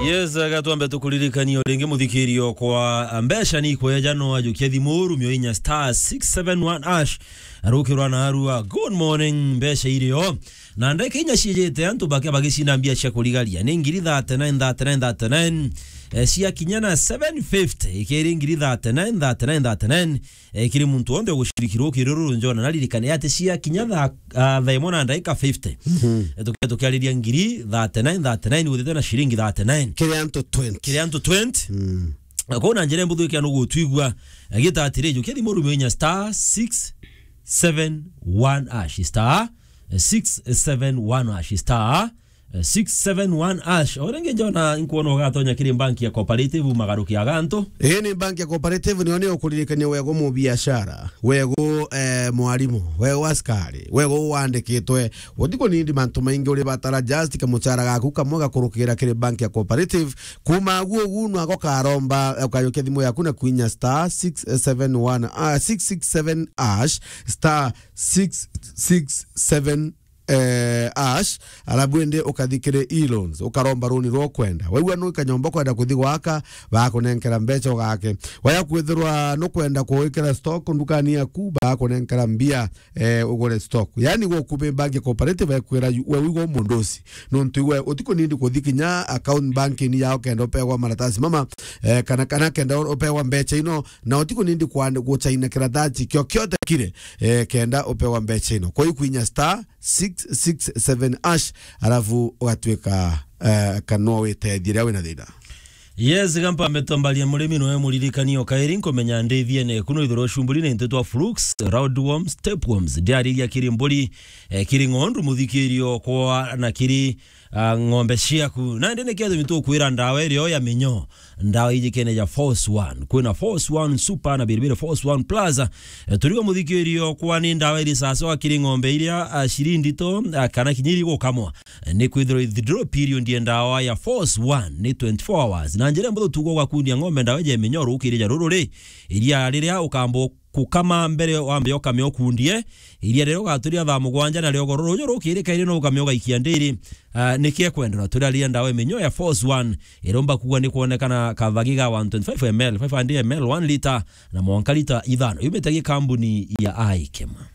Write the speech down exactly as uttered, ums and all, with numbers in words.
Yes, gatwambe tukuririkanie o ringi, muthikirio kwa mbeca ni ikweja, no ajukia thimu rumio inya star six seven one hash. Arukirwa na arua. Good morning, mbeca irio. Na ndeka inya ciijite antu bake bagicinda mbia cia kurigaria. Ni ngiri thirty-nine, thirty-nine, thirty-nine. Eh, cia kinya na seven fifty. Ikiri ngiri thirty-nine, thirty-nine, thirty-nine. Eh, kiri muntu wonthe ugucirikirwo ukiri ruru njona, naririkane ati cia kinya thaa, ah, thaa imwe na ndaika fifty. Mhm. Eh, tukia-, tukiariria ngiri thirty-nine, thirty-nine, uthite na ciringi thirty-nine. Kiri antu twenty. Kiri antu twenty. Mm. Na kwou na njira imbuthu ikia nugutwigua, eh, gita atiri, jukia thimu rumio inya star six seven one hash, star six seven one hash, star six seven one hash. O ringi njona inkwona ugatonya kiri banki ya Cooperative magaruki agantu. Ii ni banki ya Cooperative, nio ni ukuririkania wego mubiashara, wego, eh, mwarimu, wego askari, wego wandikitwe. Utiko nindi mantu maingi uri batara, just kamuchara gaku kamwe gakurukira kiri banki ya Cooperative. Kuma guo gu nwago karomba, eh, ukayokia thimu yaku na kwinya star six seven one, ah, six six seven hash, star six six seven eh, hash, alafu indi ukathi kiri e-loans, ukaromba runi rwa ukwenda. Waigua nu kanyomba ukwenda kuthi gwaka, bakunenkera mbeca ugake. Waya kwithirwa nukwenda kuwikira stock ndukani yaku, bakunenkera mbia, eh, ugure stock. Yani, gukubi bank cooperative ekwira yu-, we wigwa mundu uci. Nuntu iwe utiko nindi kuthi kinya account banking yao kenda upegwa maratasi mama, eh, kana, kana kenda upegwa mbeca ino, na utiko nindi kwand-, guchaina kiratasi kio kiote kire, eh, kenda upegwa mbeca ino. Kwa hiyo kwinya star six six seven hash, alafu ugatwika, eh, kana no witethie riria wina thina. Yes, gampa mbeto mbaria murimi noe muririkani o kairi nkumenya ndithie ne kuno ithoro cumburi ni ntetwa flukes, roundworms, tapeworms, ndiariria kiri mburi, eh, kiri ng'ondu muthikirio kwa na kiri, ah, ng'ombe ciaku. Na ndi ni kiatumi tukwira ndawa irio ya minyo. Ndawa iji kene ja Force One. Kwina Force One Super na biribiri Force One Plus. Eh, turigo muthikirio kwa ni ndawa iri sawa sawa kiri ng'ombe iria, ah, ciri ndito, ah, kana kinya iri gukamwa. Eh, ni kwithirwa withdrawal period ya ndawa ya Force One ni twenty-four hours. Na njira mbuthu tugo gwakundia ng'ombe ndawa iji ya minyo rukiri ja ruru ri. Iria riria ukambo kukama mbere wambe ukame ukundie. Iria riria ugaturia thaa mugwanja na riogo ruru ruju rukiri kairi no ukame ugaikia ndiri. Ah, niki ekwendera turaria ndawa iminyo ya Force One. Iromba kuwa ni kwonekana kathagi ga one twenty-five M L, five hundred M L, one liter, na mwanka liter ithano. Yumite gi kambuni ya Aikema.